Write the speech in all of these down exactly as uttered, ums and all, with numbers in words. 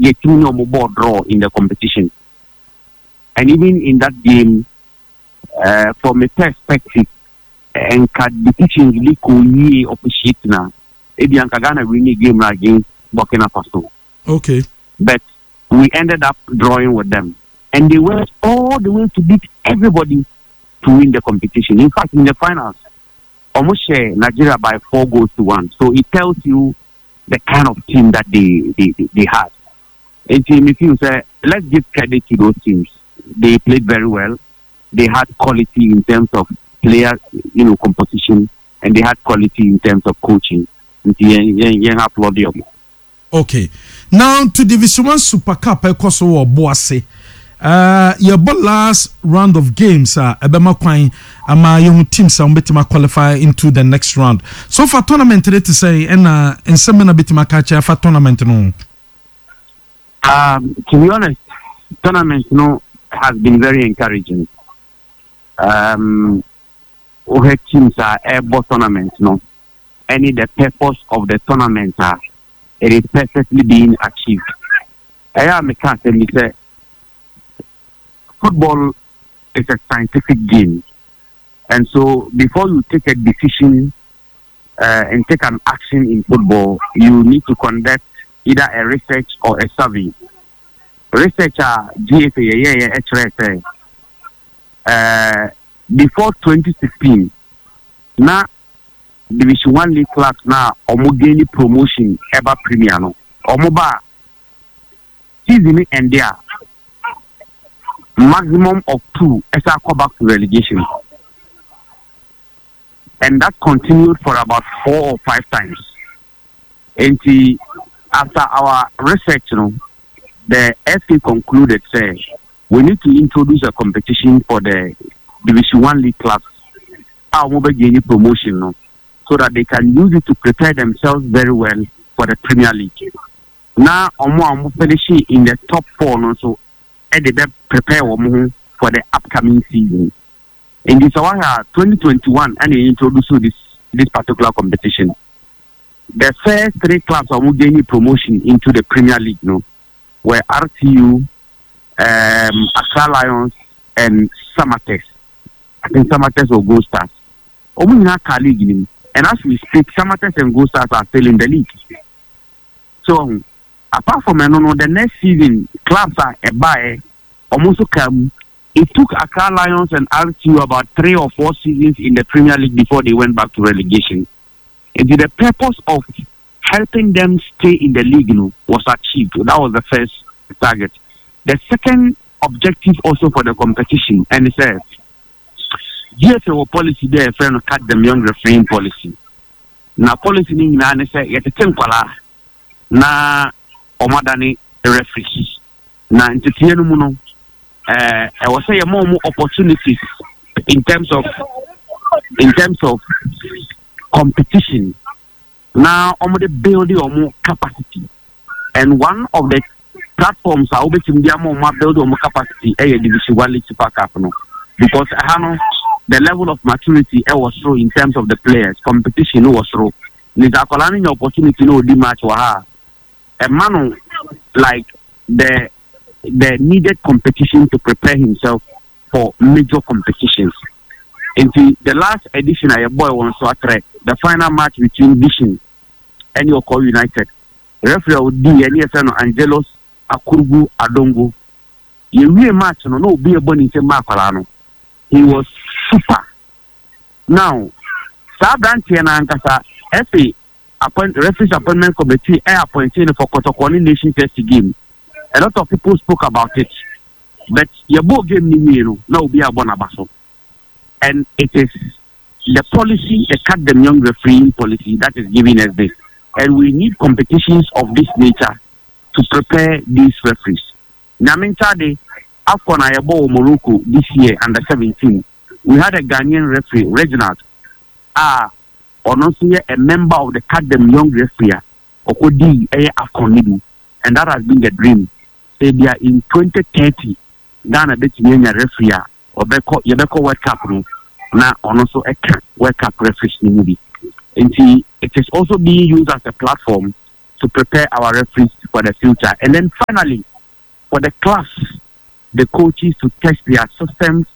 Yɛtumi ne ɔmo bɔɔ draw in the competition. And even in that game, uh, from a perspective, nka decisions bi kɔ yie officiate na ebi anka Ghana win game na against Burkina Faso. Okay. But we ended up drawing with them. And they went all the way to beat everybody to win the competition. In fact, in the finals, almost share Nigeria by four goals to one. So it tells you the kind of team that they they, they, they had. And team, if you say, let's give credit to those teams. They played very well. They had quality in terms of player, you know, composition, and they had quality in terms of coaching. Nti yɛn yɛn yɛn applaud them. Okay. Now to Division One Super Cup ɛkɔ so wɔ Boase. Uh, yɛbɔ last round of games a ɛbɛma kwan ama yɛhu teams a wɔbɛtumi qualify into the next round. So far tournament de te sɛ ɛna nsɛm na bɛtumi aka kyerɛ afa tournament no. Um, to be honest, tournament no has been very encouraging. Um, wohwɛ teams a ɛrebɔ tournament no, ɛne the purpose of the tournament a it is perfectly being achieved. Ɛyɛ a meka asɛm bi sɛ football is a scientific game. And so before you take a decision uh, and take an action in football, you need to conduct either a research or a survey. Research a GFA yɛyɛyɛ ɛkyerɛ sɛ uh, before twenty sixteen na Division One league clubs na ɔmo gain promotion ɛba Premier no, ɔmo ba season ni end a, maximum of two ɛsɛ akɔ back to relegation, and that continued for about four or five times. Nti after our research you know, the F A concluded sɛ we need to introduce a competition for the Division One league clubs a wɔn bɛ gain promotion no, so that they can use it to prepare themselves very well for the Premier League. Na wɔn a wɔn finish in the top four no nso ɛde bɛ prepare wɔn ho for the upcoming season. Nti sɛ wɔahwɛ a, twenty twenty-one ɛna introduce this this particular competition. The first three clubs a wɔn gain promotion into the Premier League no were R T U, um, Accra Lions and Samatex. I think Samatex or Gold Stars. Wɔn nyinaa ka league nim, and as we speak, Samatex and Gold Stars are still in the league. So um, apart from ɛno no, the next season clubs a ɛbaeɛ wɔn nso ka mu. It took Accra Lions and R T U about three or four seasons in the Premier League before they went back to relegation. And the purpose of helping them stay in the league you know, was achieved. That was the first target. The second objective also for the competition, and it's a G F A wɔ policy there, yɛfrɛ no Catch Them Young refereeing policy. Na policy ni nyinaa ne sɛ yɛtete nkwalaa na ɔmo adane referees. Na nteteɛ no mu no, ɛɛ ɛwɔ sɛ yɛma ɔmo opportunities in terms of in terms of competition na ɔmo de build ɔmo capacity, and one of the platforms a wobɛtumi de ama ɔmo abuild ɔmo capacity ɛyɛ Division One League Super Cup no, because ɛha no the level of maturity ɛwɔ soro in terms of the players, competition no wɔ soro. Nti akwadaa no nya opportunity na odi match wɔ ha a, ɛma no like the the needed competition to prepare himself for major competitions. Nti the last edition a yɛbɔɔ wɔ Nsoatre, the final match between Vision ɛne Ɔkɔ United, referee a odi ɛne yɛfrɛ no Angelos Akurugu Adongo. Yɛwie match no na obi ɛbɔ ne nsam ma akwadaa no, he was super. Now saa aberanteɛ no ankasa, F A appoint referees appointment committee ɛ appointee no for Kɔtɔkɔ ne Nations F C game. A lot of people spoke about it, but yɛbɔ game ni wie no na obi abɔ n'aba so, and it is the policy, the Catch Them Young refereeing policy, that is giving us this, and we need competitions of this nature to prepare these referees. Nyame nkyade, AFCON a yɛbɔ wɔ Morocco this year, under seventeen, we had a Ghanaian referee, Reginald, a ɔno nso yɛ a member of the Catch Them Young referee a ɔkɔdii ɛyɛ AFCON no bi, and that has been the dream sɛ bia in twenty thirty Ghana bɛtumi anya referee a ɔbɛkɔ yɛbɛkɔ World Cup no na ɔno nso ɛka World Cup referees no mu bi. Nti it is also being used as a platform to prepare our referees for the future. And then finally, for the class, the coaches to test their systems,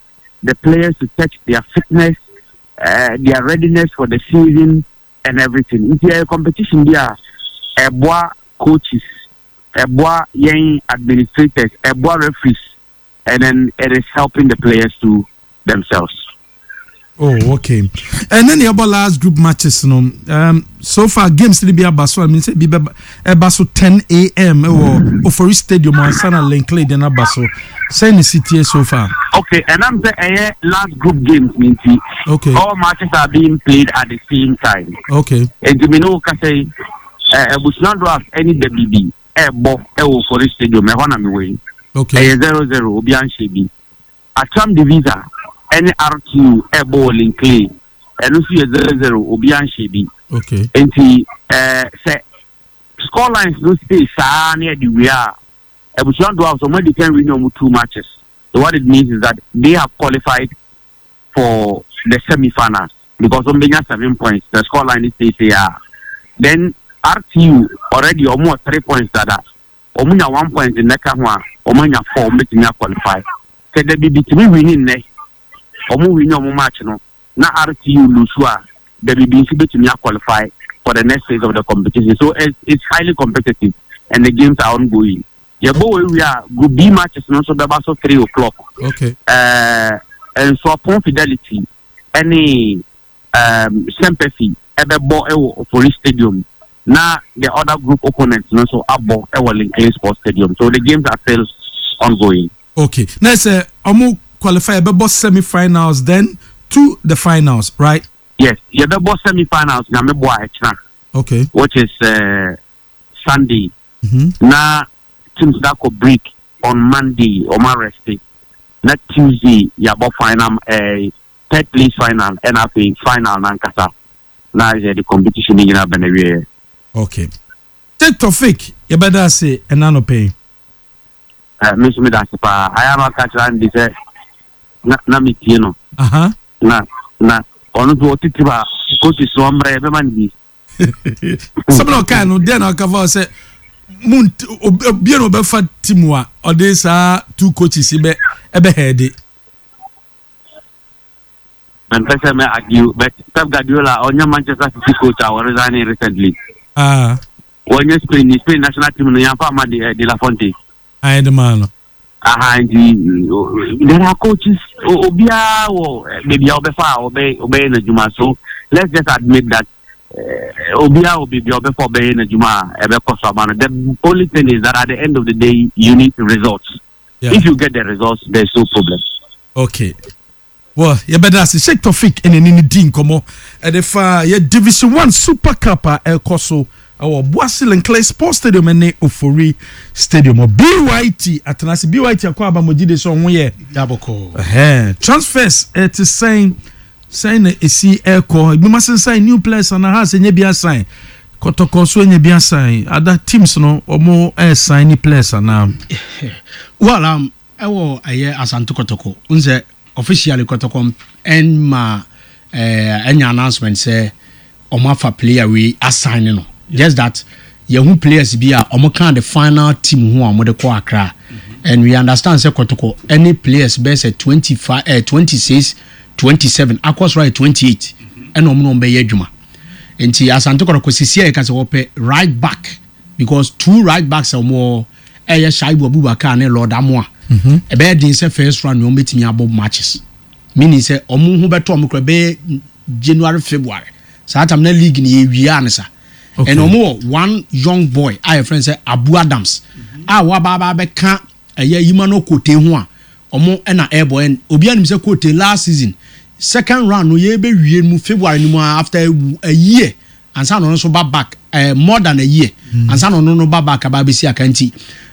the players to test their fitness, uh, their readiness for the season, and everything. Nti ɛyɛ competition bi a ɛboa coaches, ɛboa yɛn administrators, ɛboa referees, and then it is helping the players to themselves. Oh, okay. And then the other last group matches, no. Um, so far games bi aba so. I mean, sɛ bi bɛba ɛba so ten a m ɛwɔ Ofori Stadium ansa na Len Clay de n'aba so. Sɛ ne si tie so far? Okay, and I'm saying ɛyɛ last group games nti Okay. all matches are being played at the same time. Okay. Nti mi ne wo kasa yi, ɛɛ Ebusua Dwarfs ɛne Dabibi ɛɛbɔ ɛwɔ Ofori Stadium, ɛhɔ na mi wɔ yi. Okay. Ɛyɛ zero zero, obi anhyɛ bi. Attram De Visser ɛne R T U ɛɛbɔ wɔ Len Clay, ɛno nso yɛ zero zero, obi anhyɛ bi. Okay. Nti ɛɛ sɛ score lines no stay saa ne ɛde wie a, Ebusua Dwarfs ɔmo adi kan win ɔmo two matches, so what it means is that they have qualified for the semi-finals because ɔmo benya seven points. The score line is stay say ah, then R T U already ɔmo wɔ three points dada, ɔmo nya one point nnɛka ho a, ɔmo anya four, ɔmo betumi aqualify. Sɛ Dabi tumi win nnɛ, ɔmo win ɔmo match no na R T U lose a, Dabi nso betumi aqualify for the next phase of the competition. So it's, it's highly competitive and the games are ongoing. Yɛbɔ wɔ ewie a, Group B matches no nso bɛba so three o'clock. Okay. ɛɛ Nsuapɔn Fidelity ɛne um, Sympathy ɛbɛbɔ ɛwɔ Ofori Stadium, na the other group opponents no nso abɔ ɛwɔ Len Clay Sports Stadium, so the games are still ongoing. Okay. Na sɛ ɔmo qualify, ɛbɛbɔ semi-finals then to the finals, right? Yes, yɛbɛbɔ semi-finals Nyame bɔ a ɛkyena, Okay. which is uh, Sunday, Mm-hmm. na teams na kɔ break on Monday, ɔmo arest, na Tuesday yɛabɔ final, uh, third place final, ɛna afei final nankasa na yɛde competition no nyinaa bɛn awie. Okay. Sheikh Tofik, yɛbɛda ase ɛna anɔpɛ yi. Uh, me nso meda ase paa. Ayɛ ama ka kyerɛ Andy sɛ na na metie no. Aha. na na ɔno nso ɔtete ba coaches so ɔmmerɛ yɛbɛma no bi. Sɛm na ɔkae no deɛ na ɔka fa sɛ mu obia na ɔbɛfa team a ɔde saa two coaches yi bɛ ɛbɛ hɛɛde. Mempɛ sɛ mɛ argue, but Pep Guardiola ɔnyɛ Manchester City coach a wɔresign recently? Ah. Wɔnyɛ Spain Spain national team no yɛmfa ama de, eh, de la Fonte. Ayɛ de maa no. Aha, nti o- there are coaches, o- obiara wɔ eh, baabi a ɔbɛfa a ɔbɛ ɔbɛyɛ n'adwuma, so let's just admit that uh, obiara wɔ baabi a ɔbɛfa ɔbɛyɛ n'adwuma a ɛbɛkɔ so ama no. The only thing is that at the end of the day you need results. Yeah. If you get the results, there's no problem. Okay, well, yɛbɛda ase. Sheikh Tofik ɛna ɛne ne di nkɔmmɔ ɛde fa yɛ Division One Super Cup a ɛkɔ so ɛwɔ Boase Len Clay Sports Stadium ne Ofori Stadium. Byt atena ase, Byt akɔ abamogye de sɛ ɔho yɛ. Yabɔkɔ. Ɛhɛn, transfers ɛte sɛn sɛn na esi ɛkɔ? Ebi ma sensan new players ana ha sɛ nye bi asan Kɔtɔkɔ so, nye bi asan other teams no, ɔmo ɛɛsan ni players ana? Well, um, ɛwɔ ɛyɛ Asante Kɔtɔkɔ n sɛ officially Kɔtɔkɔ ɛnma ɛɛ ɛnya announcement sɛ ɔmo afa player wei asign no, just that yɛhu players bi a ɔmo ka the final team ho a ɔmo de kɔ Accra, and we understand sɛ Kɔtɔkɔ ɛne players bɛyɛ sɛ twenty five, ɛɛ twenty six, twenty seven, akɔ soro ayɛ twenty eight, ɛna ɔmo na ɔmo bɛyɛ adwuma. Nti Asante Kɔtɔkɔ sisi a yɛka sɛ wɔpɛ right back, because two right backs a wɔn wɔ ɛyɛ Shaibu Abubakar ne Lord Amoa. Ɛbɛyɛ den sɛ first round wɔn bɛtumi abɔ matches, meaning sɛ ɔmo ho bɛtɔ ɔmo kora bɛyɛ January, February saa time na league ni yɛ wia ne sa. Okay. Ɛna ɔmo wɔ one young boy a yɛfrɛ no sɛ Abu Adams a waba aba abɛka ɛyɛ Yimano Kote ho a ɔmo ɛna ɛbɔ. Ɛn obi anim sɛ Kote last season second round no yɛbɛwie mu February no mu a, after a year ansa na ɔno nso ba back, ɛɛ more than a year ansa na ɔno no ba back aba abɛsi aka. Nti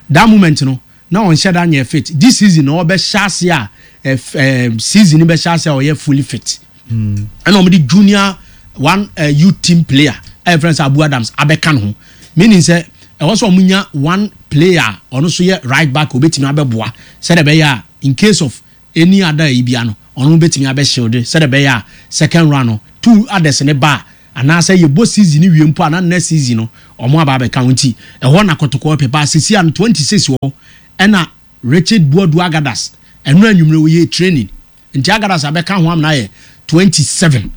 that moment no na ɔnhyɛ da nyɛ fit. This season na ɔbɛhyɛ ase a ɛɛ ɛɛ season bɛhyɛ ase a ɔyɛ fully fit, ɛna wɔn de junior one uh, youth team player a yɛfrɛ no sɛ Abu Adams abɛka ne ho, meaning sɛ ɛwɔ sɛ ɔmo nya one player a ɔno nso yɛ right back a obetumi abɛboa sɛdeɛ ɛbɛyɛ a in case of any other yi bia no, ɔno bɛtumi abɛshield, sɛdeɛ ɛbɛyɛ a second round no two others ne ba a Anaasɛ yɛbɔ season no wie mpo a, na next season no ɔmo aba abɛka ho. Nti ɛhɔ na Kɔtɔkɔ pɛ ba sisi ano twenty six wɔ. Ɛna Richard Buadu Agadas, ɛno anwummerɛ wɔyɛ training, nti Agadas abɛka ho amena yɛ twenty seven.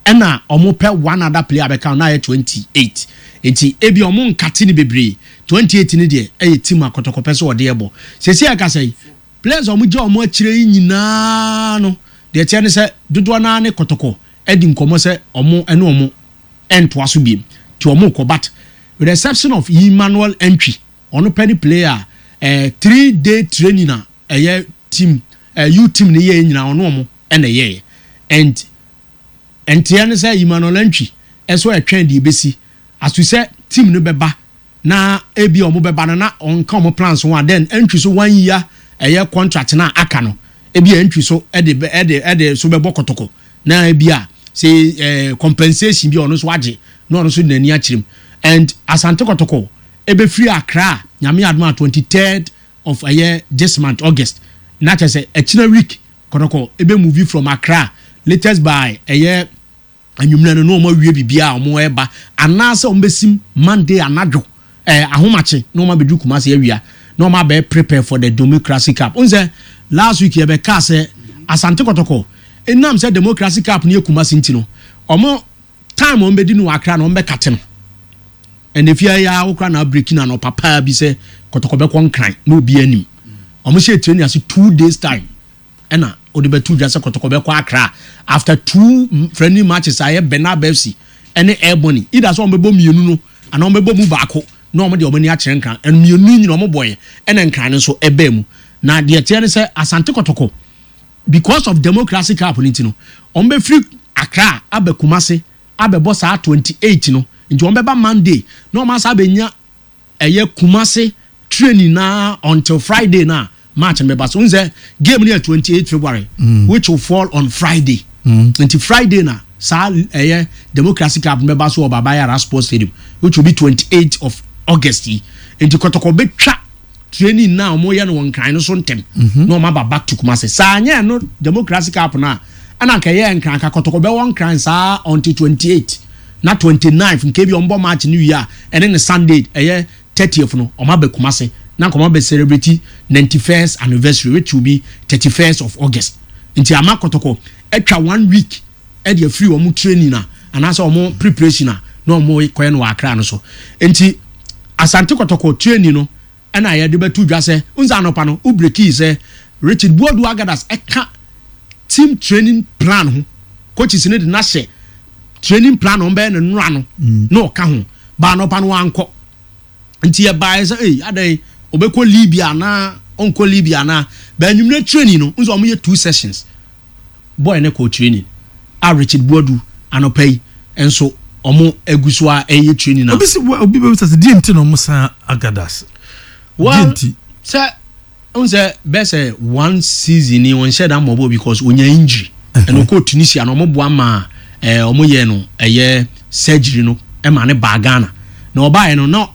Ɛna ɔmo pɛ one other player abɛka ho na yɛ twenty eight. Nti ebi ɔmo nkate ne bebree. Twenty eight ne deɛ, ɛyɛ team a Kɔtɔkɔ pɛ sɛ ɔde ɛbɔ sisi ɛkasa yi. Players a ɔmo gye ɔmo akyire yi nyinaa no deɛ, kyerɛ ne sɛ dodoɔ naa ne Kɔtɔkɔ ɛdi nkɔmɔ sɛ ɔmo ɛne ɔmo ɛntoa so biem, nti ɔmo kɔ. But with the exception of Emmanuel Entry, ɔno pɛ ne player ɛɛ three day training a ɛyɛ team ɛɛ U team ne yɛ nyinaa, ɔno ɔmo ɛna ɛyɛ. And nteɛ ne sɛ Emmanuel Entry ɛso ɛtwɛn deɛ ebesi aso sɛ team no bɛba, na ebi ɔmo bɛba no na ɔnka ɔmo plans ho a, then Entry so one year ɛyɛ contract na aka no, ebi Entry so ɛde ɛde ɛde so bɛbɔ Kɔtɔkɔ, na ebi a sɛ ɛɛ compensation bi a ɔno nso agye na ɔno nso de n'ani akyerɛ mu. And Asante Kɔtɔkɔ ebɛfiri Accra, Nyame adum a, twenty third of ɛyɛ this month, August, na kyerɛ sɛ ɛkyina week Kɔtɔkɔ ebe move from Accra latest by ɛyɛ anwummerɛ no, na wɔn awie biribiara a wɔn ɛreba, anaasɛ wɔn bɛsim Monday anadwo ɛɛ ahomakye na wɔn abɛdu Kumasi awia na wɔn abɛɛ prepare for the Democracy Cup. N sɛ last week yɛ bɛ kaa sɛ Asante Kɔtɔkɔ, enam sɛ Democracy Cup no yɛ Kumasi nti no, wɔn time wɔn bɛdi no wɔ Accra na wɔn bɛ kate no. Ɛnna fie yɛ awokora na abiriki na papa bi sɛ Kɔtɔkɔ bɛkɔ Nkran na obi anim wɔn hyɛ training ase two days time, ɛna wɔde bɛtu dwa sɛ Kɔtɔkɔ bɛkɔ Accra after two friendly matches a ɛyɛ Bernard F C ɛne Airborne. Either sɛ wɔn bɛbɔ mmienu no anaa wɔn bɛbɔ mu baako na wɔn de wɔn ani akyerɛ Nkran. Ɛno mmienu nyina wɔn bɔyɛ, ɛna Nkran no nso ɛbɛn mu. Na deɛ teɛ ne sɛ Asante Kɔtɔkɔ, because of Democracy Cup no ti no, wɔn bɛfiri Accra aba Kumase abɛbɔ saa twenty eight no. Nti wɔn bɛba Monday na wɔn asa abɛnya ɛyɛ Kumase training na until Friday na match no bɛba so. N sɛ game no yɛ twenty eight February mm. which will fall on Friday mm. Nti Friday na saa ɛyɛ Democracy Cup no bɛba so wɔ Baba Yara Sports Stadium, which will be twenty eight of August yi. Nti Kɔtɔkɔ bɛtwa training na wɔn yɛ no wɔ Nkran no so ntɛm na wɔn aba back to Kumase. Saa nyɛ no Democracy Cup no a, ɛna nka ɛyɛ Nkran ka Kɔtɔkɔ bɛwɔ Nkran saa until twenty eight, na twenty nine nke bi wɔn bɔ match no wie a, ɛne ne Sunday ɛyɛ thirtieth no, wɔn aba Kumase na nkɔmɔ bɛ celebrate ninety first anniversary, which will be thirty first of August. Nti ama Kɔtɔkɔ atwa one week ɛde afiri wɔn training na anaasɛ wɔn preparation a na wɔn kɔɛ no wɔ Akra no so. Nti Asante Kɔtɔkɔ training no, ɛna yɛde bɛto dwa sɛ nsa anɔpa no wo break sɛ Richard Buodu Agadas ɛka team training plan ho. Coaches ne de n'ahyɛ training plan a wɔn bɛyɛ ne nnora no na ɔka ho baa anɔpa no wankɔ. Nti yɛbaeɛ sɛ ee, adan ɔbɛkɔ Libya anaa ɔnkɔ Libya anaa bɛn. Training no nso, wɔn yɛ two sessions. Boy ne kɔ training a, Richard Buodu anɔpa yi nso wɔn egu so a ɛyɛ training na. Obi si obi bɛ sɛ deɛ nti na ɔmo san Agadas? Well, sɛ n sɛ bɛ sɛ one season ni wɔn hyɛ da mɔbɔ because onya injury, ɛna ɔkɔ Tunisia na ɔmo boa ma ɛɛ ɔmo yɛ no ɛyɛ surgery no ɛma ne ba Ghana. Na ɔbaayɛ no, na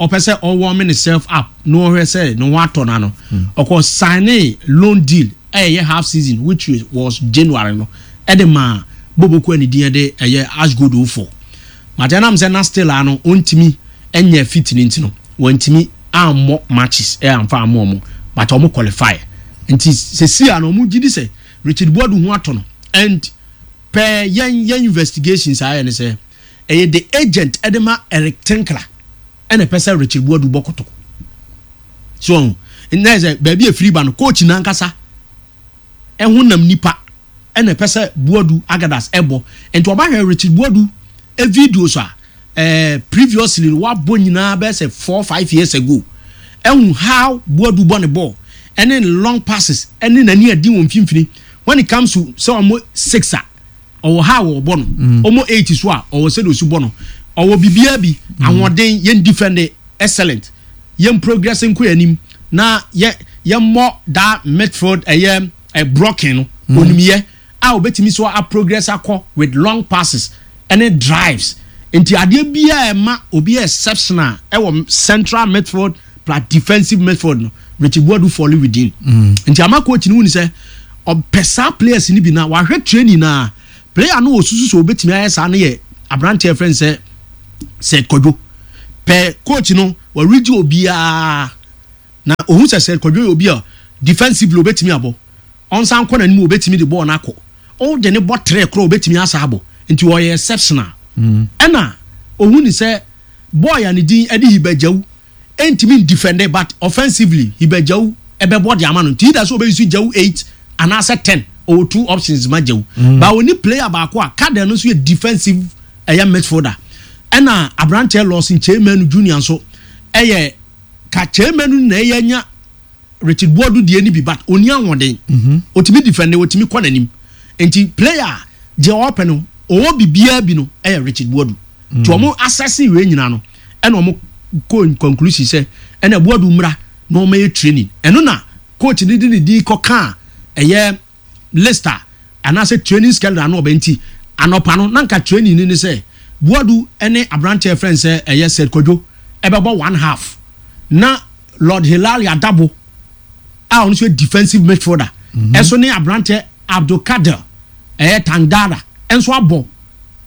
ɔpɛ sɛ ɔwɔ ne self up na ɔhwɛ sɛ ne ho atɔ na no ɔkɔ sign loan deal, ɛyɛ half season, which was January no, ɛde ma boboko ɛne din ɛde ɛyɛ Ashgold ofo. Mate ɛnam sɛ na still ano ɔntumi ɛnyɛ fit ne nti no, wɔntumi ammɔ matches ɛ amfa ammɔ ɔmo, but ɔmo qualify. Nti sɛsi a no, ɔmo gyi di sɛ Richard Boadu ho atɔ no. And pɛɛ yɛn yɛn investigations ayɛ ne sɛ ɛyɛ the agent ɛde ma Eric Tinkler ɛna ɛpɛ sɛ Richard Boadu bɔ Kɔtɔkɔ so. Ɔho nna sɛ baabi efiri ba no, coach nankasa ɛho nam nipa ɛna ɛpɛ sɛ Boadu Agadas ɛbɔ. Nti ɔbahwɛ Richard Boadu e videos a ɛɛ previously wabɔ nyinaa bɛyɛ sɛ four five years ago, ɛhu how Boadu bɔ ne ball ɛne ne long passes ɛne n'ani adi wɔn mfimfini. When it comes to sɛ ɔmo six a, ɔwɔ ha a wɔbɔ no, ɔmo eight so a, ɔwɔ sɛ de osi bɔ no, ɔwɔ biribiara bi. Ahoɔden, yɛn defend excellent, yɛn progress nkɔ yɛn anim, na yɛ yɛn mmɔ that midfield ɛyɛ ɛ blocking no, onimyɛ a obetumi so a progress akɔ with long passes ɛne drives. Nti adeɛ biara ɛma obi yɛ exceptional ɛwɔ central midfield plus defensive midfield no, Richard Boadu fall within. Nti ama coach ni wuni sɛ ɔpɛ saa players ni bi na wahwɛ training na player no osusu sɛ obetumi ayɛ saa no yɛ Aberanteɛ fɛn sɛ Seth Kwadwo pɛ, coach no wɔregye obiara na ohun sɛ Seth Kwadwo yɛ obi a defensively obetumi abɔ, ɔnsan kɔ n'anim, obetumi de bɔɔl n'akɔ, ɔde ne bɔ tere korɔ, obetumi asa abɔ, nti ɔyɛ exceptional. Ɛna ohun ni sɛ boy a ne din ɛde Hibagyawu ɛntumi ndefend, but offensively Hibagyawu ɛbɛbɔ de ama no, nti either sɛ ɔbɛyi so Gyawu eight anaasɛ ten, ɔwɔ two options ma Gyawu mm. But oni player baako a Kadel no nso yɛ defensive, ɛyɛ midfielder. Ɛna aberanteɛ Lawson Chairman Junior nso ɛyɛ ka Chairman na ɛyɛ nya Richard Boadu deɛ ni bi, but oni ahoɔden, otumi defend, otumi kɔ n'anim, nti player deɛ ɔpɛ no, ɔwɔ bibiara bi no, ɛyɛ Richard Boadu. Nti wɔn asɛse wei nyinaa no, ɛna wɔn kɔ conclusion sɛ ɛna Boadu mmra na wɔn yɛ training. Ɛno na coach ne de ne din kɔ kaa ɛyɛ list a anaasɛ training schedule ano ɔbɛn. Nti anɔpa no, nanka training ni ne sɛ Boadu ɛne aberanteɛ fɛn sɛ ɛyɛ Seth Kwadwo ɛbɛbɔ one half, na Lord Hilali Adabo a ɔno nso yɛ defensive midfielder ɛso ne aberanteɛ Abdulkader ɛyɛ Tangara ɛnso abɔ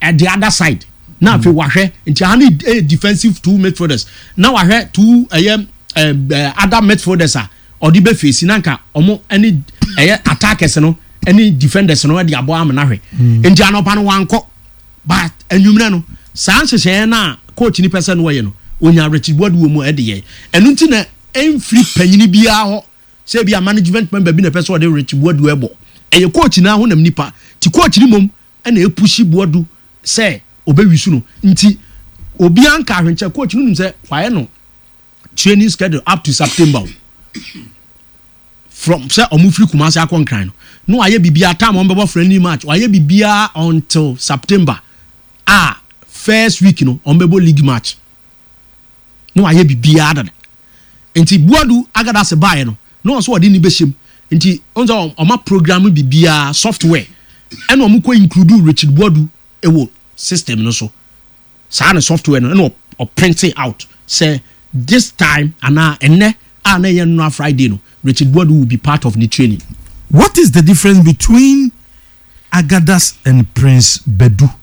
at the other side. Na afei wahwɛ, nti aha ne ɛyɛ defensive two midfielders, na wahwɛ two ɛyɛ ɛɛ other midfielders a ɔde bɛ face, na nka ɔmo ɛne ɛyɛ attackers no ɛne defenders no ɛde abɔ ama n'ahwɛ. Nti anɔpa no wankɔ, but enyimrɛ no, saa nhyehyɛeɛ no a coach ni pɛ sɛ no wɔyɛ no, onya Richard Boadu wɔ mu, ɛde yɛ ɛno. Nti na ɛnfiri panyini biara hɔ sɛ ebi a management member bi na ɛpɛ sɛ ɔde Richard Boadu ɛbɔ, ɛyɛ coach na ahonam nipa ti coach ni mom ɛna epush Boadu sɛ ɔbɛwi so no. Nti obiara nka ahwenkyɛ, coach no nim sɛ wayɛ no training schedule up to September o, from sɛ ɔmo firi Kumasi akɔ Nkran no, na wayɛ biribiara, time ɔmo bɛbɔ friendly match, wayɛ biribiara until September a first week no ɔmo bɛbɔ league match, na wayɛ biribiara dada. Nti Buadu Agadase baeɛ no, na wɔn nso wɔde ne bɛhyɛ mu, nti wɔn nso ɔma program biribiara software, ɛna wɔn kɔ include Richard Buadu ɛwɔ system no so. Saa ne software no, ɛna ɔprint out sɛ this time anaa ɛnɛ a na ɛyɛ nnora Friday no, Richard Buadu will be part of the training. What is the difference between Agadas and Prince Bedu?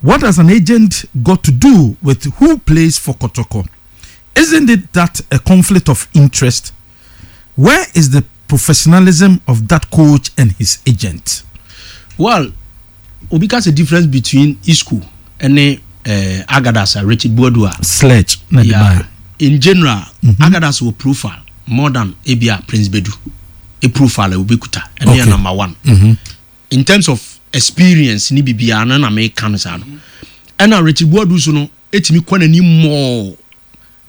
What has an agent got to do with who plays for Kotoko? Isn't it that a conflict of interest? Where is the professionalism of that coach and his agent? Well, obi ka sɛ difference between Isco ɛne uh, Agadas a Richard Buadu a Sledge. Na yeah, in general mm -hmm. Agadas wɔ profile more than ebia Prince Bedu a profile a obekuta ɛne yɛ Okay. number one Mm -hmm. in terms of experience ni biribiara no na meka no saa no. Ɛna Richard Buadu so no etumi kɔ n'anim more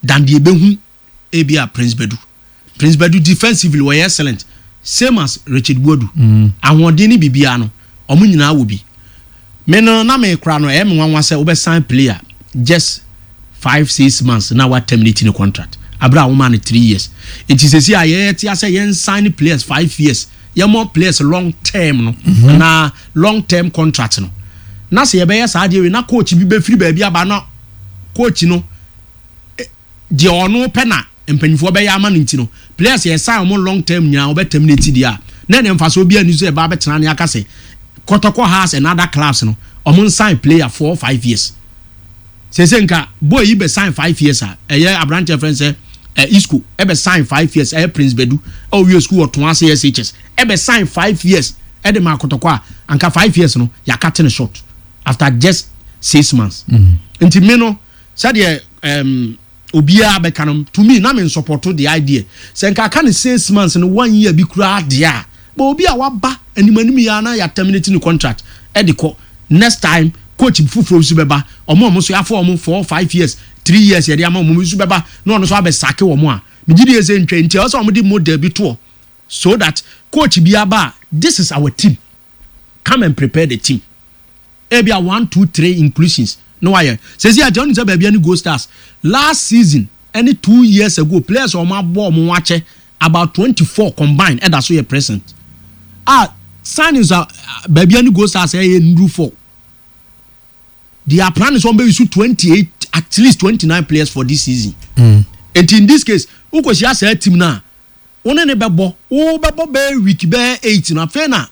than deɛ ebehu ebia Prince Bedu. Prince Bedu defensively wɔyɛ excellent, same as Richard Buadu. Mm. Ahoɔden ne biribiara no, ɔmo nyinaa wɔ bi. Me no na me kora no, ɛyɛ me nwanwa sɛ wobɛsign player just five six months na wa terminate ne contract abere a woma no three years. Nti sɛsi a yɛyɛ te asɛ yɛn sign players five years, yɛmɔ players long term no mm -hmm. na long term contract no, na sɛ yɛbɛyɛ saa adeɛ wei na coach bi bɛfiri baabi aba, na coach no eh, deɛ ɔno pɛ na mpanyinfoɔ bɛyɛ ama no, nti no players yɛ sign wɔn long term nyinaa wɔbɛ terminate deɛ a, na ɛna nfa so obi ani so ɛba abɛtena ne aka sɛ Kɔtɔkɔ has and other clubs no, ɔmo sign player four five years. Sese nka boy yi bɛ sign five years a, ɛyɛ aberanteɛ fɛn sɛ ɛ Isco ɛbɛ sign five years, ɛyɛ Prince Bedu ɛwɔ wie school ɔtɔn ase S H S ɛbɛ sign five years ɛde ma Akɔtɔkɔ a, anka five years no yɛaka te ne short after just six months. mm. Nti mi no, sɛdeɛ ɛɛm obiara bɛka no, to me na me support the idea sɛ nka aka ne six months no, one year bi koraa deɛ a, but obi a waba anim anim yi ana yɛ terminate ne contract ɛde kɔ, next time coach foforɔ nso bɛba, ɔmo a ɔmo nso yɛafɔ ɔmo four five years, three years yɛde ama ɔmo nso bɛba na ɔno nso abɛ sack wɔn a, megye di sɛ ntwa. Nti ɛwɔ sɛ ɔmo de model bi toɔ so that coach bi aba a, this is our team, come and prepare the team, ebi a one two three inclusions na wayɛ. Sɛsi àti ɔno sɛ baabi ɛne Gold Stars last season ɛne two years ago players a wɔn abɔ wɔn ho akyɛ about twenty four combined ɛda so yɛ present a signings a baabi ɛne Gold Stars ɛyɛ nduru four. They are planning sɛ wɔn bɛ use twenty eight, at least twenty nine players for this season. Mm. Nti in this case, wokɔhyia saa team na wɔn ne ne bɛbɔ, wo bɛbɔ bɛyɛ week bɛyɛ eight na afei na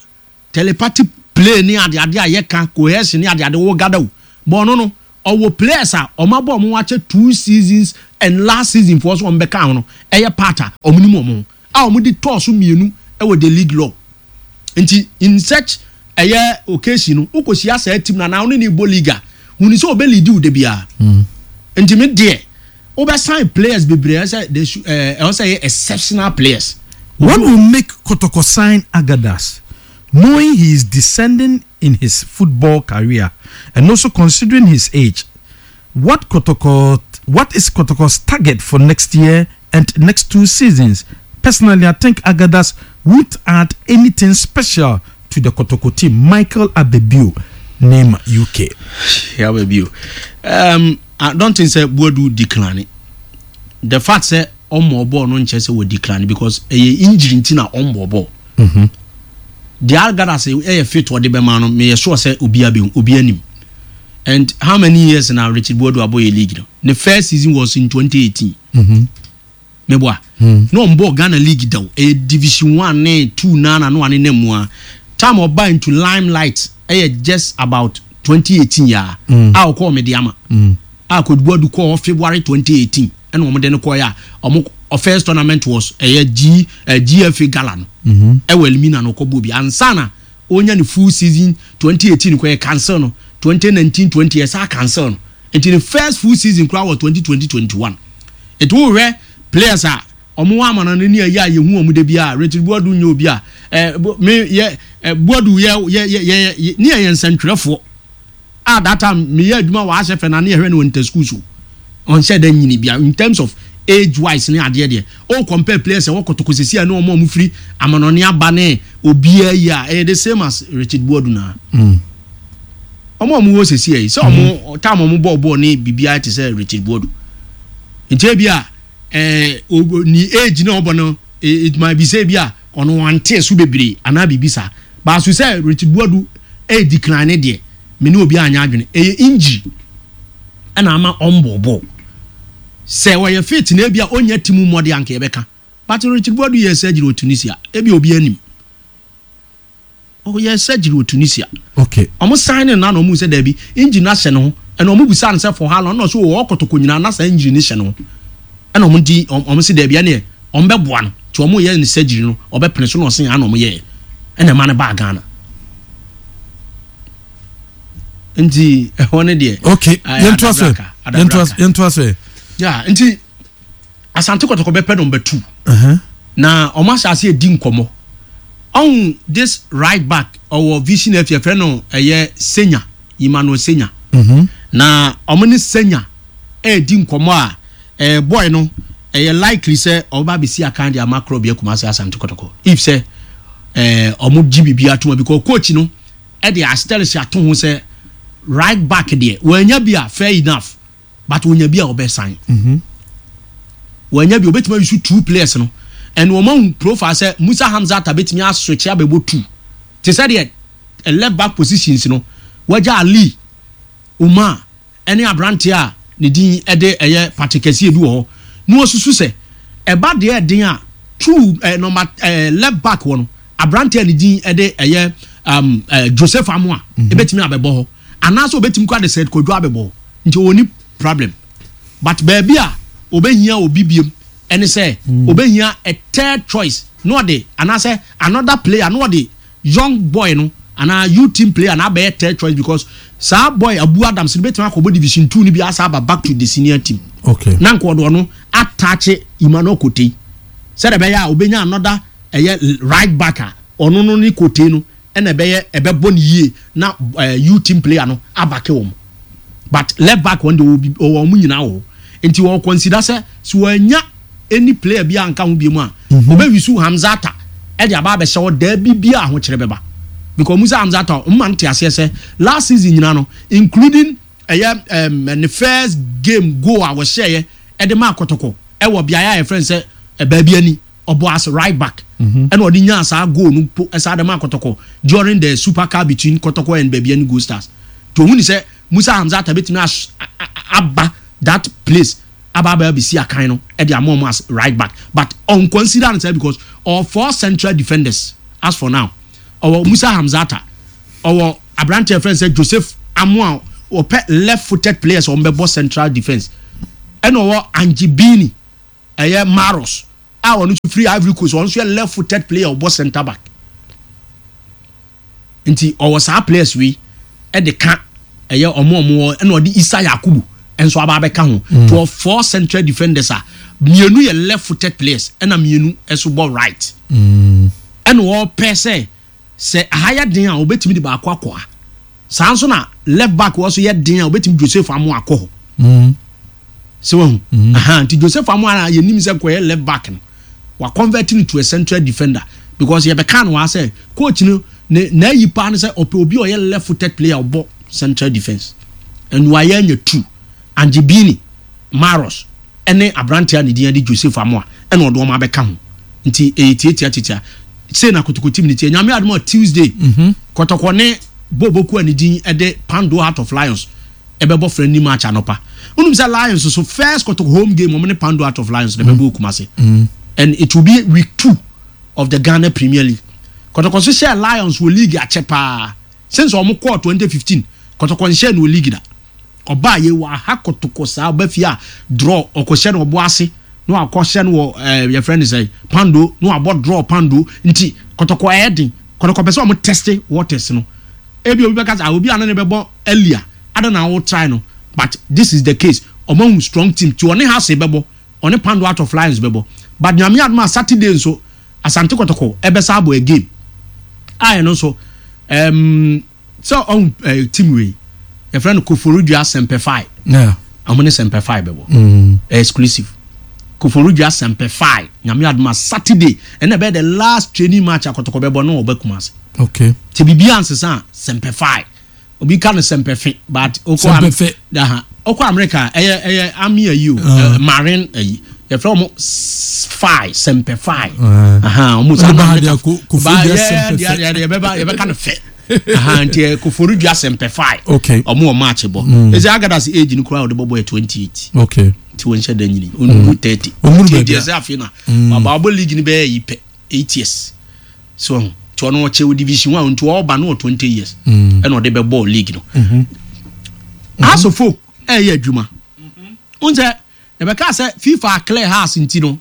telepathy play ne adeade a yɛka cohesion ne adeade wo gada o. But ɔno no ɔwɔ players a ɔmo abɔ ɔmo akyɛ two seasons and last season foɔ so ɔmo bɛka ho no ɛyɛ part a ɔmo nim ɔmo ho a ɔmo de tɔɔ so mmienu ɛwɔ the league law. Nti in such ɛyɛ occasion no, wokɔhyia saa team na na ɔne ne bɔ league a huni sɛ ɔbɛ lead wo de biara. Nti me deɛ, wobɛsign players bebree, ɛsɛ they should ɛɛ ɛwɔ sɛ ɛyɛ exceptional players. What will make Kotoko sign Agadas, knowing he is descending in his football career and also considering his age? What Kotoko, what is Kotoko's target for next year and next two seasons? Personally, I think Agadas won't add anything special to the Kotoko team. Michael Abebio, name U K. Yeah, baby. Um, I don't think sɛ Buadu decline. The fact sɛ ɔmmɔ bɔɔl no nkyɛ sɛ wɔ decline, because ɛyɛ injury nti na ɔmmɔ bɔɔl. Deɛ Agadas ɛyɛ fit ɔde bɛma no, meyɛ sure sɛ obi abɛ obi anim. And how many years na Richard Buadu abɔ yɛ league no? The first season was in twenty eighteen. Meboa. Na ɔmbɔ Ghana league da o. Ɛyɛ division one ne two na na no ane na mu a. Time ɔba into limelight ɛyɛ just about twenty eighteen yaa. A ɔkɔɔ Medeama. A Coach Buadu kɔɔ February twenty eighteen ɛna wɔn de no kɔɔ yɛ a ɔmo ɔ first tournament was ɛyɛ G ɛ G F A gala no. Ɛwɔ Elimina no ɔkɔ bɔ bi ansa na onya ne full season. twenty eighteen kɔ yɛ cancel no, twenty nineteen twenty ɛsa cancel no, nti ne first full season koraa wɔ twenty twenty twenty-one. Ètò wòhwɛ players a ɔmo wɔ amana no ni ɛyɛ a yehu ɔmo de bi a Richard Buadu nye obi a ɛ bo me yɛ ɛ Buadu yɛ yɛ yɛ yɛ ne yɛ yɛ nsɛntwerɛfoɔ a that time me yɛ adwuma wɔ ahyɛ fɛ na ne yɛhwɛ no wɔ nta school, so ɔnhyɛ dɛ nyini bia in terms of age wise ne adeɛ deɛ o compare players ɛwɔ Kɔtɔkɔ sisi a ne ɔmo a ɔmo firi amanɔne aba ne obiara yi a, ɛyɛ the same as Richard Buadu na ɔmo a ɔmo wɔ sisi yi sɛ ɔmo time ɔmo bɔɔ bɔɔl ne biribiara te sɛ Richard Buadu. Nti ebi a ɛɛ o ni age na ɔbɔ no, it might be sɛ ebi a ɔno wante so bebree anaa biribi saa baaso sɛ Richard Buadu ɛyɛ decline ne deɛ, me ne obi anya adwene, ɛyɛ injury ɛna ama ɔmbɔ bɔɔl. Sɛ wɔyɛ fit na ebi a ɔnya team mmɔde anka yɛbɛka, but Richard Buadu yɛ surgery wɔ Tunisia, ebi obi anim ɔyɛ surgery wɔ Tunisia. Okay ɔmo sign ne na na ɔmo sɛ daabi, injury na hyɛ ne ho, ɛna ɔmo bisa no sɛ for how long, ɛna ɔso wɔ Kɔtɔkɔ nyinaa na saa injury ne hyɛ ne ho, ɛna ɔmo di ɔmo sɛ daabi, ɛneɛ ɔmo bɛboa no nti ɔmo yɛ ne surgery no, ɔbɛpene so na ɔsen ana ɔmo yɛ ɛna ɛma no baa Ghana. Nti ɛhɔ ne deɛ. Okay yɛntoa so. Adabraka, yɛntoa Adabraka. Yɛntoa so. Ya, nti Asante Kɔtɔkɔ bɛpɛ number two Uh-huh. na ɔmo ahyɛ ase edi nkɔmɔ ɔhun this right back ɔwɔ Vision F, yɛfrɛ no ɛyɛ Senya, Emmanuel Senya. Mhm. Na ɔmo ne Senya ɛɛdi nkɔmɔ a ɛɛ boy no ɛyɛ likely sɛ ɔba abɛsi akan de ama korɔ bi Kumasi Asante Kɔtɔkɔ if sɛ ɛɛ ɔmo gye biribi ato mu, because coach no ɛde asterisk ato ho sɛ right back deɛ, wɔanya bi a, fair enough, but wɔnya bi a ɔbɛ sign. Mhm. Wɔanya bi, obetumi ayi two players no, and wɔn ahu profile sɛ Musa Hamza ta betumi aswitch abɛbɔ two te sɛ deɛ eh, left back positions no wɔagya Ali Umar ɛne aberanteɛ a ne din ɛde ɛyɛ Patrick Kɛseɛ bi wɔ hɔ na wɔsusu sɛ ɛba deɛ ɛden a two ɛɛ number ɛɛ left back wɔ no, aberanteɛ a ne din ɛde ɛyɛ um, ɛɛ Joseph Amoa ebetumi abɛbɔ hɔ anaasɛ obetumi kɔ ade sɛ Kodwo abɛbɔ hɔ, nti wɔn ni problem. But baabi a obehia obi biem ɛne sɛ obehia a third choice na ɔde anaasɛ another player na ɔde young boy no anaa youth team player na abɛyɛ third choice, because saa boy Abu Adams no betumi akɔbɔ division two ni bi asa aba back to the senior team. Okay na nka ɔde ɔno ataakye Emmanuel Kote sɛdeɛ ɛbɛyɛ a obenya another ɛyɛ right back a ɔno no ne Kote no ɛna ɛbɛyɛ ɛbɛbɔ ne yie na ɛɛ youth team player no abake wɔn. But left back wɔn de ɔwɔ bi ɔwɔ wɔn nyinaa wɔ hɔ, nti wɔn consider sɛ so wɔanya any player bi a nka ho bi mu a ɔbɛwi Hamzata ɛde aba abɛhyɛ hɔ daabi bi a ahokyerɛ bɛba, because Musa Hamzata mma no te aseɛ sɛ last season nyinaa no, including ɛyɛ ɛm ne first game goal a wɔhyɛɛ ɛde ma Akɔtɔkɔ ɛwɔ beaeɛ a yɛfrɛ no sɛ baabi ani ɔbɔ as right back, ɛna ɔde nyaa saa goal no po ɛsaa de ma Kɔtɔkɔ during the Super Cup between Kɔtɔkɔ and Bibiani Gold Stars. To ohun ni sɛ Musa Hamzata betumi aba that place aba aba abɛsi akan no ɛde ama ɔmo as right back, but ɔn consider no sɛ because ɔwɔ four central defenders as for now. Ɔwɔ Musa Hamzata, ɔwɔ aberanteɛ fɛn sɛ Joseph Amoa. Ɔpɛ left footed players a wɔn bɛbɔ central defence. Ɛna ɔwɔ Angibini, ɛyɛ Maros a ɔno nso firi Ivory Coast, ɔno nso yɛ left footed player, ɔbɔ centre back. Nti ɔwɔ saa players wei ɛde ka ɛyɛ ɔmo ɔmo wɔ. Ɛna ɔde Isa Yakubu nso aba abɛka ho mm. To four central defenders a mmienu yɛ left footed players, ɛna mmienu nso bɔ right. Mm. Ɛna ɔpɛ sɛ sɛ aha yɛ den a, obetumi de baako akɔ ha. Saa nso na left back wɔ so yɛ den a, obetumi Joseph Amo akɔ hɔ. Mm. Sɛ wahu mm. Nti Joseph Amo a yɛnim sɛ nkɔyɛ left back no, wa convert no to a central defender, because yɛbɛka no wa sɛ coach no ne n'ayi paa no sɛ ɔpɛ obi a ɔyɛ left footed player ɔbɔ central defence, and wayɛ anya two, Angebini Maros ɛne aberanteɛ a ne din de Joseph Amoa, ɛna ɔde wɔn abɛka ho. Nti ɛyɛ tietia tietia sei na Kotoko team ne tie. Nyame adom a, Tuesday mm -hmm. Kɔtɔkɔ ne Boboku a ne din ɛde Pando Heart of Lions ɛbɛbɔ friendly match anɔpa. Wonum sɛ Lions so first Kɔtɔkɔ home game, wɔn ne Pando Heart of Lions na ɛbɛbɔ Kumase, and it will be week two of the Ghana Premier League. Kɔtɔkɔ so hyɛ Lions wɔ league akyɛ paa since wɔn kɔɔ twenty fifteen. Kɔtɔkɔ nhyɛ no wɔ league da. Ɔbaa yɛ wɔ aha Kɔtɔkɔ saa ɔba fie a draw, ɔkɔhyɛ no ɔbɔ ase na wakɔhyɛ no wɔ ɛɛ yɛfrɛ no sɛ Pando na wabɔ draw Pando. Nti Kɔtɔkɔ ɛyɛ den. Kɔtɔkɔ pɛ sɛ ɔmo test waters no. Ebi obi bɛka sɛ, ah, obi ano ne bɛbɔ earlier ada na awo try no, but this is the case. Ɔmo ahu strong team ti ɔne House bɛbɔ, ɔne Pando Heart of Lions bɛbɔ. But Nyame adum a, Saturday nso Asante Kɔtɔkɔ ɛbɛsa abɔ a game a ɛno nso ɛɛm sɛ ɔhu ɛɛ team wei yɛfrɛ no Koforidua Sɛmpɛfai. Yeah. Ɔmo ne Sɛmpɛfai bɛbɔ. Mm. Exclusive Koforidua Sɛmpɛfai, Nyame adum a, Saturday ɛna ɛbɛyɛ the last training match akɔtɔkɔ bɛbɔ no ɔbɛ Kumasi. Okay. Te biribi ansesa a, Sɛmpɛfai, obi ka no Sɛmpɛfe, but okɔ Sɛmpɛfe. Aha, okɔ America, ɛyɛ ɛyɛ army ayi o, Uh. uh, marine ayi, yɛfrɛ ɔmo fi Sɛmpɛfai. Uh. Aha, ɔmo Ɔde ba ha deɛ, Ko- Koforidua Ba- yɛ- Sɛmpɛfɛ. deɛ- deɛ- deɛ yɛbɛba yɛbɛka no fɛ. Aha, nti ɛ, Koforidua Sɛmpɛfai. Okay. Ɔmo wɔ match bɔ. Ɛsɛ Agadas age no koraa a ɔde bɔbɔ yɛ twenty eight. Okay. Nti wɔn nhyɛ da nyini, ɔnuru thirty. Ɔnnuru Nti baabi deɛ a. sɛ afei na waba ɔbɔ league ni bɛyɛ yi pɛ eight years so ɔho. Nti ɔno ɔkyɛ wɔ division one, nti ɔba no wɔ twenty years Mm. ɛna ɔde bɛbɔ league no. Hearts of Oak ɛyɛ adwuma n sɛ yɛbɛka sɛ FIFA clear Hearts, nti no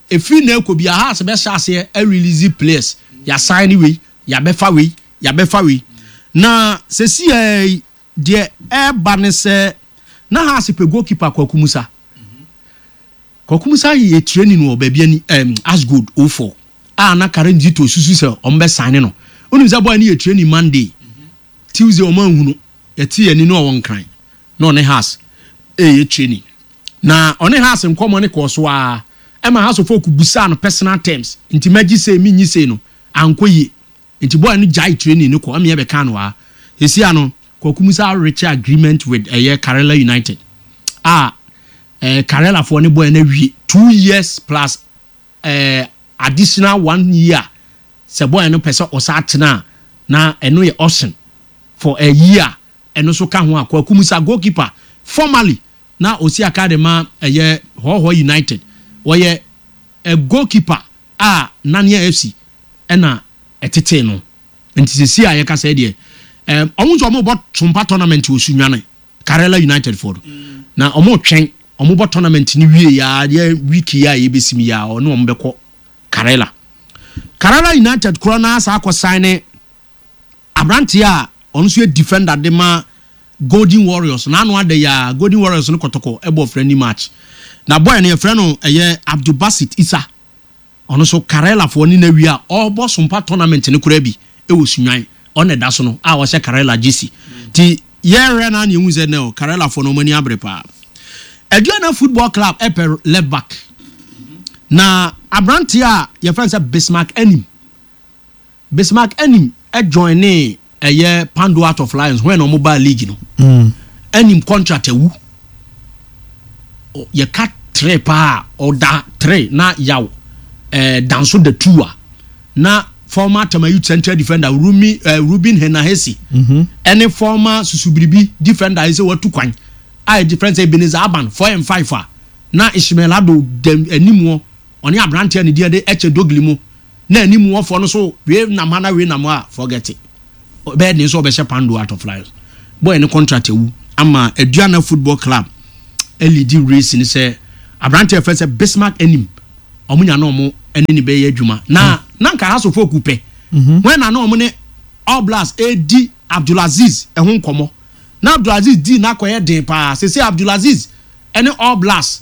efiri na ekɔ bi a Hearts bɛhyɛ aseɛ ɛrelease players, yasan ne wei, yabɛfa wei, yabɛfa wei. Na sɛsi ɛɛ deɛ ɛɛba ne sɛ na Hearts pɛ goalkeeper Kwaku Musa. Kwaku Musa yɛ training wɔ baabi ani ɛɛm Asgold o four a na Karen Zito susu sɛ ɔmo bɛ sign no. Onim sɛ boy no yɛ training Monday, Tuesday ɔmo anhunu. Yɛte yɛn ni na ɔwɔ Nkran na ɔne Hearts ɛyɛ training, na ɔne Hearts nkɔmɔ ne kɔɔ so a ɛma Hearts of Oak busaa no personal terms. Nti mɛgye sei, mi nyi sei no ankɔ yie, nti boy no gyae training no kɔ ɛmi yɛ no ha. Esi ano Kwaku Musa reach agreement with ɛyɛ Karela United a ɛɛ Karela foɔ ne boy no awie two years plus ɛɛ additional one year sɛ boy no pɛ sɛ ɔsa atena a, na ɛno yɛ option for a year, ɛno nso ka ho a. Kwaku Musa, goalkeeper formerly na osi aka de ma ɛyɛ Hɔhɔ United, wɔyɛ a goalkeeper a Nania F C ɛna ɛtete no. Nti sisi a yɛka sɛ deɛ ɛɛm ɔmo nso ɔmo bɔ Tumpa tournament wɔ Sunyane, Karela United foɔ no, na ɔmo twɛn ɔmo bɔ tournament ni wie ya deɛ, week yi a yɛbɛsi mi ya, ɔne ɔmo bɛkɔ Karela. Karela United korɔ na asa akɔ sign ne aberanteɛ a ɔno nso yɛ defender de ma Golden Warriors. N'ano ada yi a Golden Warriors no Kɔtɔkɔ ɛbɔ friendly match na boy no yɛfrɛ no ɛyɛ Abdulbasit Isa. Ɔno nso Karelafoɔ ne na wie a ɔrebɔ Sompa tournament no koraa bi ɛwɔ Sunwan, ɔna ɛda so no a ɔhyɛ Karela jersey. Ti yɛrɛ na ne ehu sɛ nɛ Karelafoɔ no ɔmo ani abere paa. Aduana Football Club ɛpɛ left back, na aberanteɛ a yɛfrɛ no sɛ Bismarck Anim. Bismarck Anim ɛjoin ne ɛyɛ Pando Heart of Lions when ɔmo baa league no. Mm. Anim contract awu. Ɔ- yɛka three paa, ɔda three na yaw ɛɛ danso da two a na former Tema Youth central defender Rumi ɛɛ Ruben Henahesi ɛne former Susubiribi defender yi sɛ watu kwan a yɛ different sɛ Ebenezer Aban, four and five a na Ishmael Ado dɛm anim hɔ, ɔne aberanteɛ ne deɛ de ɛkyɛ dogili mu na anim hɔfoɔ no so wei nam ha na wei nam ha a, forget it, bɛyɛ den nso ɔbɛhyɛ Pando Heart of Lions. Boy ne contract awu, Ama Aduana Football Club ɛlead race ni sɛ aberanteɛ fɛ sɛ Bismarck Anim, ɔmo nya na ɔmo ɛne ne bɛyɛ adwuma na na nka Hearts of Oak pɛ wɔn na na ɔmo ne All Blacks edi Abdulaziz ɛho nkɔmɔ, na Abdulaziz di n'akɔyɛ den paa. Sese Abdulaziz ɛne All Blacks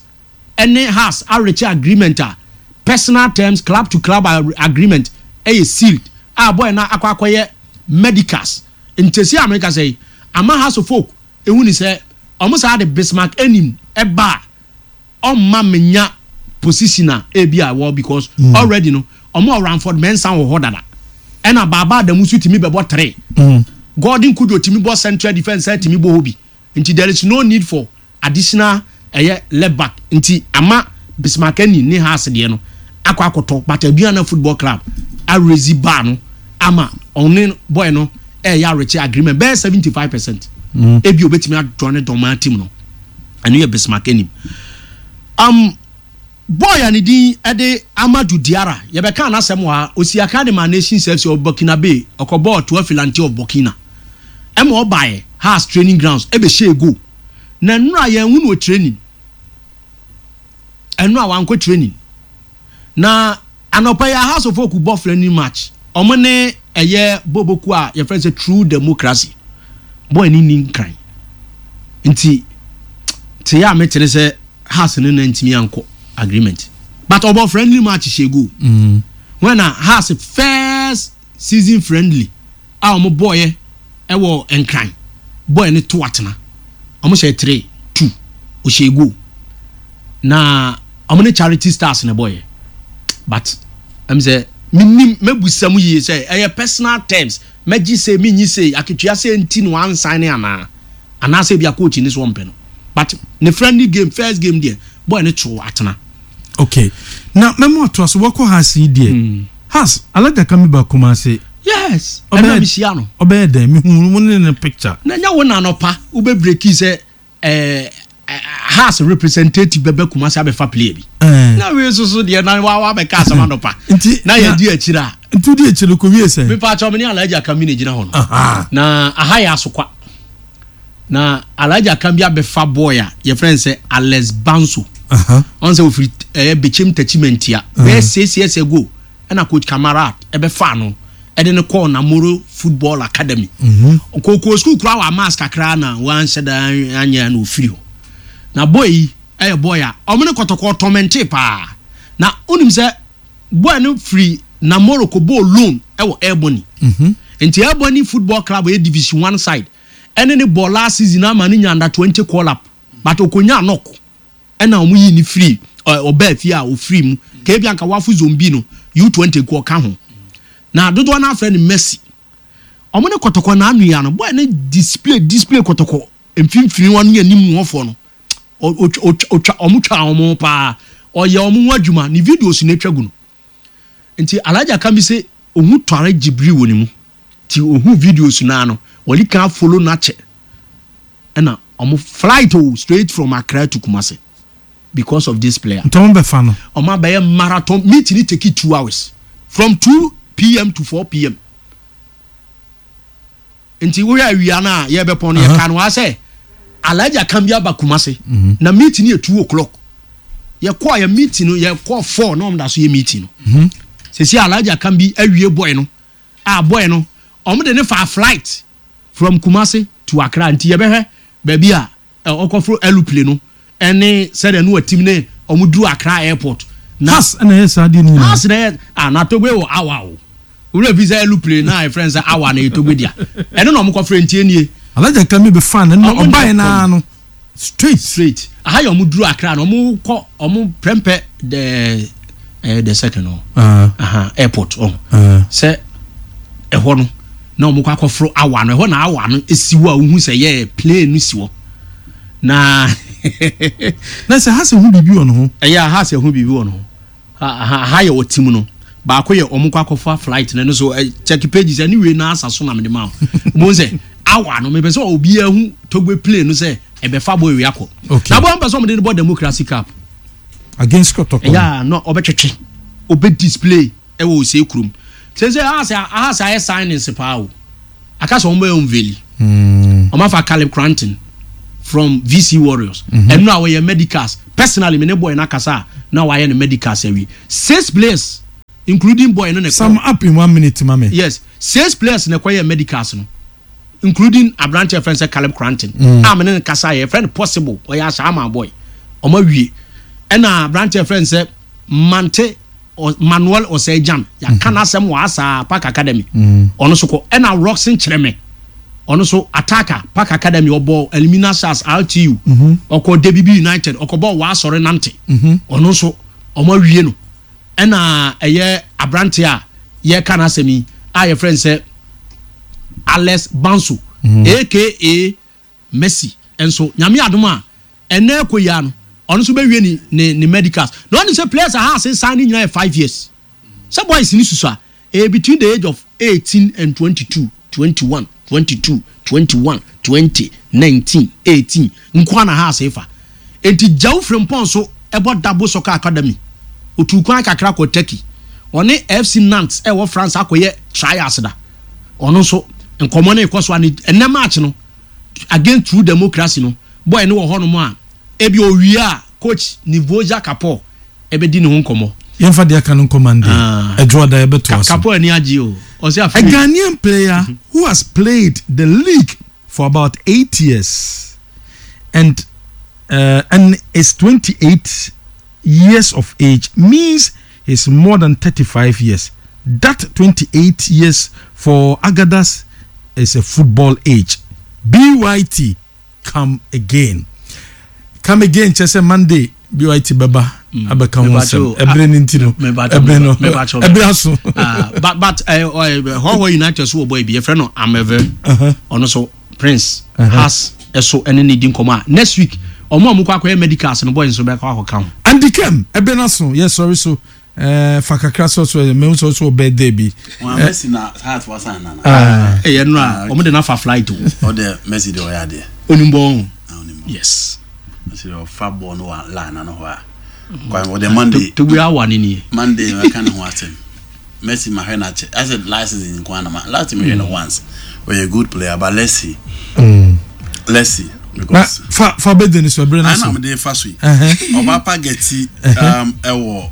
ɛne Hearts areach agreement a personal terms, club to club agreement ɛyɛ sealed a boy na akɔ akɔyɛ medicals. Ntɛsi America sɛ yi ama Hearts of Oak ehu ni sɛ ɔmo saa de Bismarck Anim ɛba a, ɔmma menya position a ebi a wɔ because mm. already no ɔmo Ranford Mensah wɔ hɔ dada, ɛna Baaba Adamu nso tumi bɛbɔ three mm. Gordon Kujo tumi bɔ central defence, ɛ tumi bɔ hɔ bi, nti there is no need for additional ɛyɛ left back. Nti ama Bismarck Anim ne Hearts deɛ no akɔ akɔtɔ, but Aduana Football Club araise bar no ama ɔne boy no ɛyɛ areach agreement bɛyɛ seventy five percent. Ebi obetumi adɔ ne dɔmaa team no. Ɛno yɛ Bismarck Anim. um, boy a ne din ɛde Amadu Diara, yɛbɛka n'asɛm wɔ ha. Osi aka de ma Nations F C of Burkina Bay, ɔkɔbɔɔ Toa Filante of Burkina, ɛma ɔbaeɛ Hearts training grounds ɛbɛhyɛ goal. Na nnura yɛn hu no wɔ training, ɛnura wankɔ training. Na anɔpa yɛ Hearts of Oak bɔ friendly match, ɔmo ne ɛyɛ boboku a yɛfrɛ sɛ True Democracy. Boy ne ni nkran nti te yɛ a metene sɛ Hearts ne na ntumi ankɔ agreement, but ɔbɔ friendly match hyɛ goal mm. When na Hearts first season friendly a ɔmo bɔɔyɛ ɛwɔ Nkran, boy ne to atena, ɔmo hyɛ three two, ɔhyɛ goal. Na ɔmo ne Charity Stars na bɔɔyɛ, but ɛm sɛ minim mɛbusa mu yie sɛ ɛyɛ personal terms, mɛgye sɛ minyi sɛ akatua sɛ nti na wansan ne anaa anaasɛ ebi a coach ne so ɔmpɛ no, but ne friendly game, first game deɛ, boy ne to atena. Okay, na mɛmo atoa so wɔkɔ Hearts yi deɛ mm. Hearts Alhaji Kami ba Kumase. Yes, ɛna mi hyia no. Ɔbɛyɛ dɛn? Mihu mo ne ne picture. Na nya wo na anɔpa wobɛ break sɛ ɛɛ Hearts representative bɛbɛ Kumase abɛfa player bi. Na wei soso deɛ na wa wa bɛka asɛm anɔpa. Nti na yɛ di akyire a. Nti di akyire ko wie sɛ. Mipa atwa mi ni Alhaji Akami na gyina hɔ no. Na aha yɛ Asokwa. Na Alhaji Akami abɛfa boy a yɛfrɛ no sɛ Alex Banso. Ɔn sɛ ofiri ɛyɛ Bechem Techimantia bɛyɛ six years ago, ɛna coach Kamara ɛbɛfa no ɛde ne kɔɔ Namoro Football Academy. Koko school kura wɔ amas kakra na wanhyɛ da anyɛ na ofiri hɔ. Na boy yi ɛyɛ boy a ɔmo ne Kɔtɔkɔ tɔmɛnte paa. Na onim sɛ boy no firi Namoro kɔ bɔɔ loan ɛwɔ Airborne. Nti Airborne Football Club ɛyɛ Division One side ɛne ne bɔ last season ama ne nya under twenty call up, but okonya knock ɛna ɔmo yi ne firi ɔbaa fie a ofiri mu keebi anka wafo zone B no U twenty kɔ ɔka ho. Na dodoɔ no afrɛ no Messi. Ɔmo ne Kɔtɔkɔ na anu ya no, boy ne display display Kɔtɔkɔ mfimfini wɔn ne anim wɔfoɔ no, ɔtwa ɔmo twa ɔmo paa, ɔyɛ ɔmo ho adwuma. Ne videos na etwa gu no. Nti Alhaji Akami sɛ ohun tɔre gyibiri wɔ ne mu, ti ohun videos naa no wɔde kan follow n'akyɛ, ɛna ɔmo flight o straight from Accra to Kumasi because of this player. Nti ɔmo bɛfa no. Ɔmo abɛyɛ marathon meeting ni, take it two hours from two pm to four pm. Nti wohwɛ awia no a yɛbɛpɔn no, yɛka no wa sɛ Alhaji Akam bi aba Kumasi na meeting yɛ two o'clock. Yɛkɔɔ yɛ meeting no, yɛkɔɔ four na ɔmo da so yɛ meeting no. Sisi Alhaji Akam bi awie boy no a boy no ɔmo de ne fa flight from Kumasi to Accra. Nti yɛbɛhwɛ baabi a ɔkɔforo aeroplane no ɛne sɛdeɛ no watim ne ɔmo duru Accra Airport. Na Hearts ɛna ɛyɛ saa deɛ no nyinaa. Hearts na ɛyɛ ah, na Togbe wɔ awa o, wúlò fi sɛ aeroplane na yɛfrɛ no sɛ awa na yɛ Togbe dia, ɛno na ɔmo kɔfrɛ. Ntie nie. Alhaji Akami bɛ fa no na ɔbaeɛ naa no straight. Straight aha yɛ ɔmo duru Accra na ɔmo kɔ ɔmo prɛmpɛ the ɛɛ the second no aha airport ɔho sɛ ɛhɔ no na ɔmo kɔ akɔforo awa no. Ɛhɔ na awa no esi hɔ a wohu sɛ yɛ plane no si hɔ na. Na sɛ Hearts hu biribi wɔ ne ho. Ɛyɛ a Hearts hu biribi wɔ ne ho. Ha yɛ wɔ team no baako yɛ ɔmo kɔ akɔfa flight na ɛno so check pages ɛne wei na asa so na mede ma wo mo sɛ awa no mepɛ sɛ obiara hu Togbe plane no sɛ ɛbɛfa bɔ ewia kɔ. Na bɔ mpɛ sɛ ɔmo de no bɔ Democracy Cup. Against Kɔtɔkɔ. Ɛyɛ a na ɔbɛtwetwe ɔbɛ display ɛwɔ ose kurom sɛ sɛ aha sɛ aha sɛ ayɛ signings paa o, aka sɛ ɔmo bɛ unveil. Ɔmo afa Caleb Cranton. From V C Warriors. Ɛno a wɔyɛ medicals, personally me ne boy na kasa a na wayɛ ne medicals awie. Six players, including boy no ne Sum up in one minute, mame. Yes, six players na ɛkɔyɛ medicals no, including aberante a yɛfrɛ no sɛ Caleb Cranton a mene ne kasa yɛ yɛfrɛ no Possible, ɔyɛ Ahyɛama boy, ɔmo awie. Ɛna aberante a yɛfrɛ no sɛ Mante Ɔ- Manuel Ɔsɛgyan, yɛaka n'asɛm wɔ asa Park Academy, ɔno so kɔ. Ɛna Roxon Kyerɛmɛ, ɔno so attacker, Park Academy, ɔbɔ Elimina Stars, R T U, ɔkɔ D B B United, ɔkɔbɔ Waasɔre Nante, ɔno nso ɔmo awie no. Ɛna ɛyɛ aberante a yɛka n'asɛm yi a yɛfrɛ no sɛ Alex Banso, aka Messi, nso Nyame adom a ɛnɛ ɛkɔ yia no, ɔno nso bɛwie ne ne ne medicals. Na ɔne sɛ players a ha ase san ne nyinaa yɛ five years sɛ boys ni susu a ɛyɛ between the age of eighteen and twenty-two, twenty-one, twenty-two, twenty-one, twenty, nineteen, eighteen nkoa na ha ase fa. Eti Gyaw Frimpɔn so ɛbɔ Dabo Soccer Academy, otu kwan kakra kɔ Turkey, ɔne F C Nantes ɛwɔ France akɔyɛ trials da. Ɔno nso nkɔmɔ no ekɔ so a ne ɛnɛ match no against True Democracy no, boy no wɔ hɔnom a ebi owie a coach Nivoja Kapo ɛbɛdi ne ho nkɔmɔ. Yɛmfa deɛ aka no nkɔ Monday. Ah. Ɛdwoada yɛbɛtoa so. Kapo ani agye o, ɔsɛ A afei Ghanaian player who has played the league for about eight years and uh, and is twenty-eight years of age means he's more than thirty-five years. That twenty-eight years for Agadas is a football age. B Y T, come again. Come again, kyerɛ sɛ Monday B Y T bɛba abɛka ho nsɛm. Ɛberɛ no nti no, ɛberɛ no, ɛberɛ aso. Ah, but but Hɔhɔ United so wɔ boy bi yɛfrɛ no Ameve, ɔno so Prince has ɛso ɛne ne di nkɔmɔ a next week ɔmo a ɔmo kɔ akɔyɛ medicals no, boy nso bɛkɔ akɔka ho. Andy Kem, ɛberɛ no aso, yɛ sɔre so ɛɛ fa kakra sɔ so mɛhu sɔ so birthday bi. Wọn Messi na Heart wa san nana. Ɛyɛ no a ɔmo de n'afa flight o. Ɔde Messi de ɔyɛ adeɛ. Onimbo. Na onim. Yes. Messi de ɔfa bɔɔl no wɔ line ano hɔ a. Kwan ɔde Monday. Togbe awa ne nie. Monday mɛka ne ho asɛm. Messi ma hwɛ n'akyɛ. I said last season nko ana ma last time mehwɛ no once. Ɔyɛ good player, but let's see. Let's see Na because. fa fa birthday ni so, ɛberɛ no Ana aso. mo de fa so yi. Ɛhɛn. Ɔba Pageti um, ɛwɔ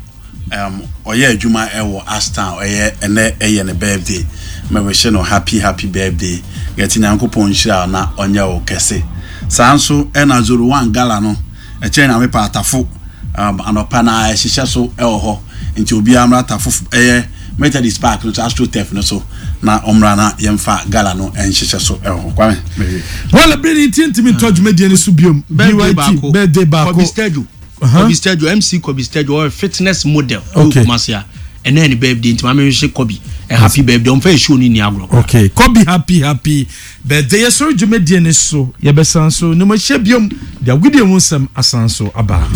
um, ɔyɛ adwuma ɛwɔ Ashtown, ɔyɛ ɛnɛ ɛyɛ ne birthday. Mɛbɛhyɛ no happy happy birthday. Gɛti, Nyankopɔn nhyira wo na ɔnyɛ wo kɛse. Saa nso ɛna Zoro One Gala no ɛkyɛn na mepa Atafo um, anɔpa na ɛhyehyɛ so ɛwɔ hɔ, nti obiara mmra Atafo ɛyɛ Methodist Park no so, AstroTurf no so, na ɔmmra na yɛmfa gala no ɛnhyehyɛ so ɛwɔ hɔ. Kwame, mɛwie. Wala bere ni nti ntumi ntɔ dwumadie no so biom. Birthday B Y T baako. Birthday baako. Kobi Stejo. Uh-huh. Kobi Stejo, M C Kobi Stejo, ɔyɛ fitness model. Okay. Ɛwɔ Kumasi a ɛnɛ ne birthday, nti maame hwehwɛ Kobi ɛ happy birthday, ɔmfa show ni ni agorɔ koraa. Okay, Kobi, happy happy birthday. Yɛsɔre dwumadie no so, yɛbɛsan so ne mo ahyia biom de agodie ho nsɛm asan so aba.